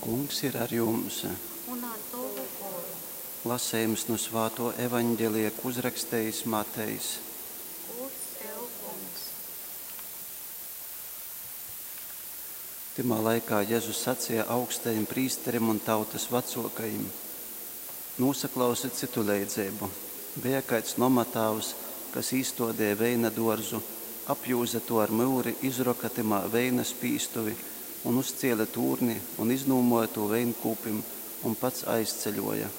Kungs ir ar jums! Un ar tovu goru. Lasejums nu svātō Evaņgelija, kū uzrakstejis Matejs. Gūds tev, Kungs! Tymā laikā Jezus saceja augstajim prīsterim un tautas vacōkajim: Nūsaklausit cytu leidzeibu. Beja kaids nomatāvs, kas īstōdeja veina dōrzu, apjūze tū ar myuri, izroka tymā veina spīstuvi un uzcēle tūrni, un iznūmōja tū veinkūpim, un pats aizceļōja.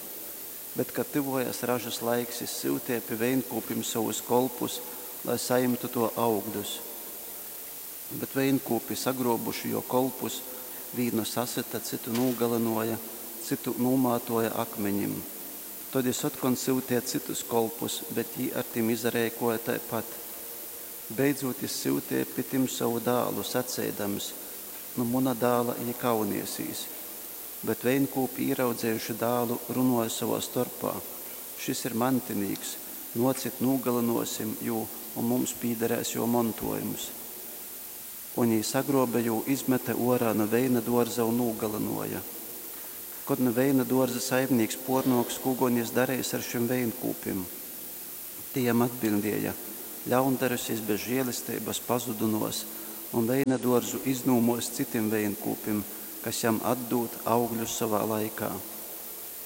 Bet, kad tyvōjās ražas laiks, jys syuteja pi veinkūpim sovus kolpus, lai sajimtu tō augļus. Bet veinkūpi, sagrōbuši jō kolpus, vīnu sasyta, cytu nūgalynōja, cytu nūmātōja akmenim. Tod jys otkon syuteja cytus kolpus, bet jī ar tim izareikōja taipat. Beidzūt jys syuteja pi tim sovu dālu, saceidams, Nu muna dāla jī kauniesīs. Bet veinkūpi, īraudzejuši dālu, runōja sovā storpā, Šys ir mantinīks, nōcit, nūgalynōsim jū, un mums pīdarēs jō montōjums. Un jī sagrōbe jū, izmete ōrā nu veina dōrza un nūgalynōja. Kod nu veina dōrza saimnīks pōrnōks, kū gon jys dareis ar šim veinkūpim? Tī jam atbiļdēja, Ļaundarus jys bez žēlesteibas pazudynōs un veina dōrzu iznūmōs citim veinkūpim, kas jam atdūd augļus sovā laikā.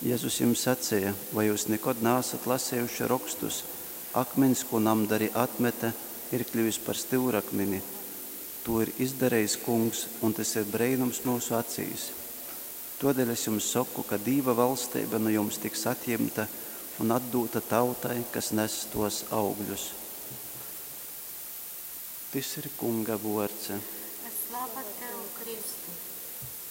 Jezus jim saceja, Vai jyus nikod naasat lasejuši Rokstus, Akmiņs, kū namdari atmete, ir kļyvis par styurakmini. Tū ir izdarejis Kungs, un tys ir breinums myusu acīs. Tōdēļ es jums soku, ka Dīva valsteiba nu jums tiks atjimta un atdūta tautai, kas ness tōs augļus. Tys ir Kunga vōrds. Slava tev, Kristus!